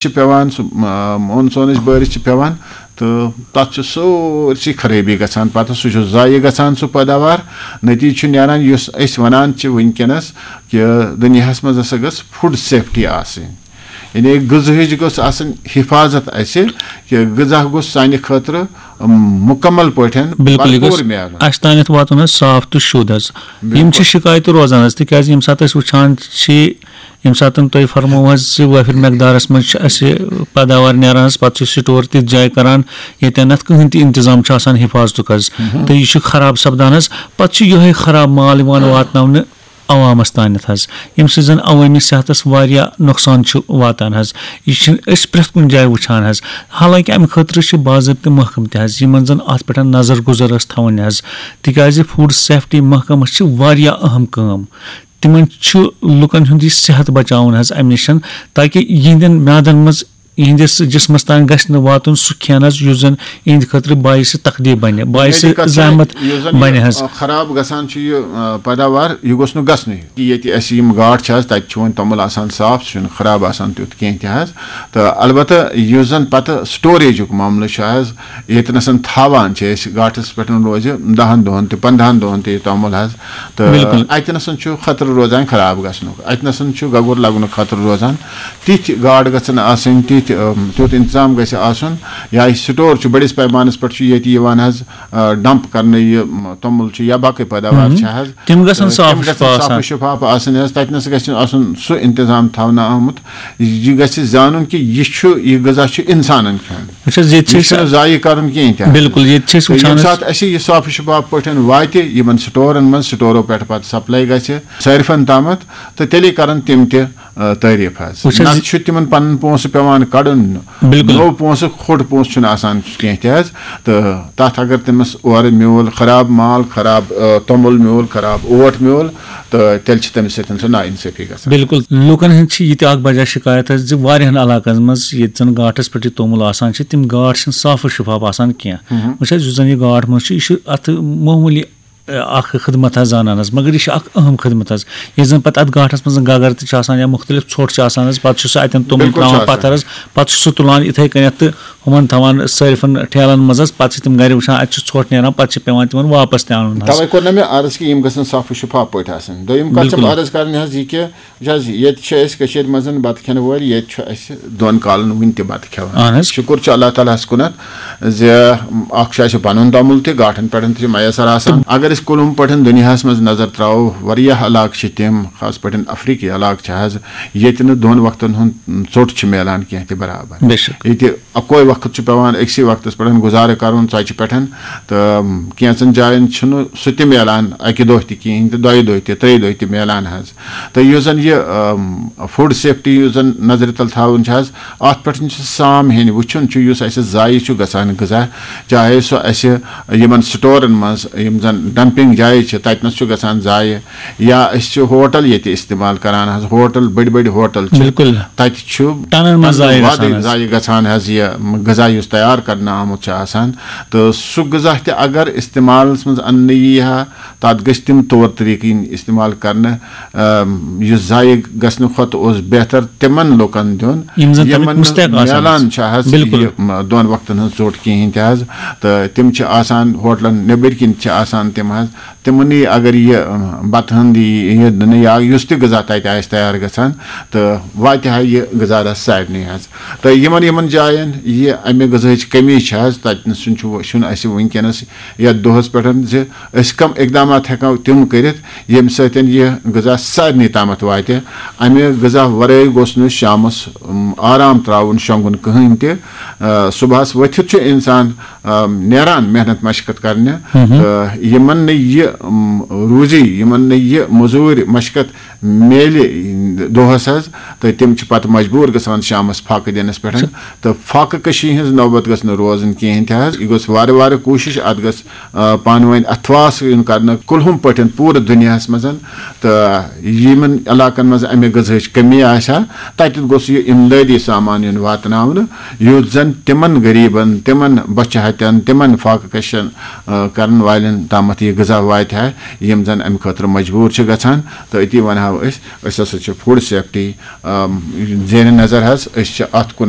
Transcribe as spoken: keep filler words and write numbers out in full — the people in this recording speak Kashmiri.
چھِ پٮ۪وان، سُہ مانسونٕچ بٲرِش چھِ پٮ۪وان، تہٕ تَتھ چھُ سٲرسٕے خرٲبی گژھان۔ پَتہٕ سُہ چھُ ضایع گژھان، سُہ پٲداوار۔ نٔتیٖجہٕ چھُ نیران، یُس أسۍ وَنان چھِ وٕنکیٚنَس کہِ دُنیاہَس منٛز ہسا گٔژھ فوڈ سیفٹی آسٕنۍ، یعنی غذہٕچ گٔژھ آسٕنۍ حفاظت اَسہِ، کہِ غذا گوٚژھ سانہِ خٲطرٕ مُکمل پٲٹھۍ بِلکُل، یہِ بھرپوٗر گوٚژھ میلُن۔ اَسہِ تانٮ۪تھ واتُن حظ صاف تہٕ شوٚد حظ۔ یِم چھِ بِلکُل۔ شِکایتہٕ روزان حظ، تِکیٛازِ ییٚمہِ ساتہٕ أسۍ وٕچھان چھِ، ییٚمہِ ساتہٕ تۄہہِ فرموو حظ زِ وٲفِر مقدارَس منٛز چھِ اَسہِ پیداوار نیران حظ، پَتہٕ چھِ سٹور تِژھ جایہِ کَران، ییٚتٮ۪ن نَتھ کٕہٕنۍ تہِ اِنتظام چھُ آسان حِفاظتُک حظ، تہٕ یہِ چھُ خراب سَپدان حظ۔ پَتہٕ چھُ یِہوٚے خراب مال یِوان واتناونہٕ عوامَس تانٮ۪تھ حظ، ییٚمہِ سۭتۍ زَن عوٲمی صحتَس واریاہ نۄقصان چھُ واتان حظ۔ یہِ چھِنہٕ أسۍ پرٛٮ۪تھ کُنہِ جایہِ وٕچھان حظ۔ حالانکہِ اَمہِ خٲطرٕ چھِ باضٲبطہٕ محکمہٕ تہِ حظ، یِمَن زَن اَتھ پٮ۪ٹھ نظر گُزر ٲس تھاوٕنۍ حظ، تِکیٛازِ فوڈ سیفٹی محکمَس چھِ واریاہ اہم کٲم۔ تِمَن چھُ لُکَن ہُنٛد یہِ صحت بچاوُن حظ اَمہِ نِش، تاکہِ یِہِنٛدٮ۪ن میادَن منٛز، یِہِنٛدِس جسمَس تام گژھِ نہٕ واتُن سُہ کھٮ۪ن حظ، یُس زَن یِہِنٛدِ خٲطرٕ باعث تکلیف بَنہِ، باعث بُنیٲدی کَتھ چھِ، زحمت یُس زَن یہِ، بَنہِ حظ۔ آ، خراب گژھان چھُ یہِ، آ، پیداوار، یہِ گوٚژھ نہٕ گژھنُے۔ ییٚتہِ اَسہِ یِم گاٹھ چھِ حظ، تَتہِ چھُ وۄنۍ توٚمُل آسان صاف، سُہ چھُنہٕ خراب آسان تیُتھ کینٛہہ تہِ حظ۔ تہٕ البتہ یُس زَن پَتہٕ سٹوریجُک معاملہٕ چھُ حظ، ییٚتہِ نَسَن تھاوان چھِ أسۍ گاٹھَس پٮ۪ٹھ روزِ دَہَن دۄہَن تہِ، پنٛداہَن دۄہَن تہِ یہِ توٚمُل حظ، تہٕ بِلکُل۔ اَتہِ نَسَن چھُ خطرٕ روزان خراب گژھنُک، اَتہِ نَسَن چھُ گگُر لَگنُک خطرٕ روزان۔ تِتھۍ گاڈٕ گژھن آسٕنۍ، تِتھۍ، اَم، تیُتھ اِنتظام گژھِ آسُن۔ یا یہِ سٹور چھُ، بٔڑِس پیمانَس پٮ۪ٹھ چھُ ییٚتہِ یِوان حظ، آ، ڈمپ کرنہٕ یہِ، م، توٚمُل چھُ یا باقٕے پیداوار چھِ حظ، تِم گژھن تہٕ صاف تِم گژھن شفاف صاف آسان۔ و شفاف آسٕنۍ حظ۔ تَتہِ نَس گژھِ آسُن سُہ اِنتظام تھاونہٕ آمُت، یہِ گژھِ زانُن کہِ یہِ چھُ، یہِ غذا چھُ اِنسانَن کھیوٚن۔ وٕچھ حظ، ییٚتہِ چھِ یہِ أسۍ چھُنہٕ ضایع کَرُن کِہیٖنۍ تہِ حظ۔ بِلکُل، ییٚتہِ چھِ أسۍ تہٕ وٕچھان ییٚمہِ حظ۔ ساتہٕ اَسہِ یہِ صاف و شفاف پٲٹھۍ واتہِ یِمَن سٹورَن منٛز، سٹورو پٮ۪ٹھ پَتہٕ سپلاے گژھِ صٲرفَن تامَتھ، تہٕ تیٚلے کَرَن تِم تہِ، آ، تعریٖف حظ۔ وٕچھ حظ، نَتہٕ چھُ تِمَن پَنُن پونٛسہٕ پٮ۪وان کَڑُن، بِلکُل۔ نوٚو پونٛسہٕ، کھوٚٹ پونٛسہٕ چھُنہٕ آسان کینٛہہ تہِ حظ۔ تہٕ تَتھ اگر تٔمِس اورٕ میوٗل خراب مال، خراب، آ، توٚمُل میوٗل، خراب اوٹ میوٗل، تہٕ تیٚلہِ چھِ تٔمِس سۭتۍ سۄ نااِنصٲفی گژھان۔ بِلکُل، لُکَن ہٕنٛز چھِ یہِ تہِ اَکھ بجا شِکایت حظ زِ واریاہَن علاقَن منٛز ییٚتہِ زَن گاٹھَس پٮ۪ٹھ یہِ توٚمُل آسان چھِ، تِم گاٹھ چھِنہٕ صاف و شِفاف آسان کینٛہہ۔ وٕچھ حظ، یُس زَن یہِ گاٹھ منٛز چھُ، یہِ چھُ اَتھ معموٗلی، آ، اَکھ خدمت حظ زانان حظ، مگر یہِ چھِ اَکھ اہم خدمت حظ۔ ییٚلہِ زَن پَتہٕ اَتھ گاٹھَس منٛز گگر تہِ چھِ آسان یا مُختلف ژھۄٹھ چھِ آسان حظ، پَتہٕ چھُ سُہ اَتٮ۪ن توٚمُل بِلکُل چھُ ترٛاوان آسان۔ پَتہٕ حظ، پَتہٕ چھُ سُہ تُلان یِتھَے کٔنٮ۪تھ تہٕ ہُمَن تھاوان صٲرفَن ٹھیلَن منٛز حظ، پَتہٕ چھِ تِم گَرِ وٕچھان، اَتہِ چھُ ژھۄٹھ نیران، پَتہٕ چھِ پٮ۪وان تِمَن واپَس تہِ اَنُن حظ۔ تَوَے کوٚر نہ مےٚ عرض کہِ یِم گژھن صاف و شِفاف پٲٹھۍ آسٕنۍ۔ دوٚیِم کَتھ چھَم بِلکُل۔ عرض کَرٕنۍ حظ یہِ کہِ، وٕچھ حظ، ییٚتہِ چھِ أسۍ کٔشیٖرِ منٛز بَتہٕ کھٮ۪نہٕ وٲلۍ، ییٚتہِ چھُ اَسہِ دۄن کالَن وٕنہِ تہِ بَتہٕ کھٮ۪وان۔ اَہَن حظ۔ شُکُر چھُ اللہ تعالیٰ ہَس کُنَتھ زِ اَکھ چھُ اَسہِ پَنُن توٚمُل تہِ، گاٹھَن پٮ۪ٹھ تہِ چھُ میسر آسان۔ اگر أسۍ کُلُم پٲٹھۍ دُنیاہَس منٛز نظر ترٛاوو، واریاہ علاقہٕ چھِ تِم، خاص پٲٹھۍ افریٖقی علاقہٕ چھِ حظ، ییٚتہِ نہٕ دۄن وقتَن ہُنٛد ژوٚٹ چھُ میلان کینٛہہ تہِ برابر۔ بے شک۔ ییٚتہِ اَکوے وقت چھُ پٮ۪وان أکسٕے وقتَس پٮ۪ٹھ گُزارٕ کَرُن ژۄچہِ پٮ۪ٹھ، تہٕ کینٛژَن جایَن چھُنہٕ سُہ تہِ میلان اَکہِ دۄہ تہِ کِہیٖنۍ تہِ، دۄیہِ دۄہہِ تہِ، ترٛیٚیہِ دۄہہِ تہِ میلان حظ۔ تہٕ یُس زَن یہِ، اَم، فوڈ سیفٹی یُس زَن نظرِ تَل تھاوُن چھِ حظ، اَتھ پٮ۪ٹھ چھِ سام ہیٚنۍ وٕچھُن چھُ، یُس اَسہِ ضایع چھُ گژھان غذا، چاہے سُہ اَسہِ یِمَن سٹورَن منٛز، یِم زَن ڈمپنگ جایہِ چھِ، تَتہِ نَس چھُ گژھان ضایع، یا أسۍ چھِ ہوٹل ییٚتہِ استعمال کران حظ، ہوٹل، بٔڑۍ بٔڑۍ ہوٹل چھِ، بِلکُل۔ تَتہِ چھُ ٹنن منٛز ٹنن ضایع وادٕ گژھان حظ۔ ضایع گژھان حظ، یہِ غذا یُس تیار کرنہٕ آمُت چھُ آسان، تہٕ سُہ غذا تہِ اگر استعمالَس منٛز اَننہٕ یی ہا، تَتھ گٔژھۍ تِم طور طریٖقہٕ یِنۍ استعمال کرنہٕ، اَم، یُس ضایع گژھنہٕ کھۄتہٕ اوس بہتر تِمن لُکن دیُن، یِم زن تَمِکۍ یِمن نہٕ مستحق آسان میلان چھِ۔ چھِ حظ بِلکُل۔ یہِ، م، دۄن وقتن ہٕنٛز ژوٚٹ کِہیٖنۍ تہِ حظ، تہٕ تِم چھِ آسان ہوٹلن نیٚبٕرۍ کِنۍ چھِ آسان تِم حظ، تِمنٕے اگر یہِ، اَم، بتہٕ ہن دی یہِ دِنہٕ یا یُس تہِ غذا تتہِ آسہِ تیار گژھان، تہٕ واتہِ ہا یہِ غذا رس سارنٕے حظ۔ تہٕ یِمن، یِمن جاین یہِ امہِ غذاہٕچ کمی چھِ حظ، تتہِ نس چھُنہٕ، چھُنہٕ اسہِ وٕنکیٚنس یتھ دۄہس پٮ۪ٹھ زِ أسۍ کم اقدامات ہیٚکو تِم کٔرِتھ، ییٚمہِ سۭتۍ یہِ غذا سارنٕے تامتھ واتہِ۔ امہِ غذا ورٲے گوٚژھ نہٕ شامس، اُم، آرام تراوُن، شۄنگُن کٕہٕنۍ تہِ۔ آ، صبحس ؤتھِتھ چھُ انسان، آ، نیران محنت مشقت کرنہِ۔ تہٕ یِمن نہٕ یہِ، اُم، روزی، یِمن نہٕ یہِ مٔزوٗرۍ مشقت میلہِ دۄہس حظ، تہٕ تِم چھِ پتہٕ مجبوٗر گژھان شامس فاقہٕ دِنس پٮ۪ٹھ۔ تہٕ فاقہٕ کشی ہٕنٛز نوبت گٔژھ نہٕ روزٕنۍ کِہیٖنۍ تہِ حظ۔ یہِ گٔژھ وارٕ وارٕ کوٗشِش، اتھ گٔژھ، آ، پانہٕ ؤنۍ اتھواس یُن کرنہٕ کُلہُم پٲٹھۍ پوٗرٕ دُنیاہس منٛز۔ تہٕ یِمن علاقن منٛز امہِ غذاہٕچ کمی آسہِ ہا، تتہِ گوٚژھ یہِ امدٲدی سامان یُن واتناونہٕ، یُتھ زن تِمن غریٖبن، تِمن بۄچھِ ہتٮ۪ن، تِمن فاقہٕ کشن، آ، کرن والٮ۪ن تامتھ یہِ غذا واتہِ ہا، یِم زن امہِ خٲطرٕ مجبوٗر چھِ گژھان۔ تہٕ أتی ونہو أسۍ، أسۍ ہسا چھِ فوڈ سیفٹی زیر نظر حظ، أسۍ چھِ اَتھ کُن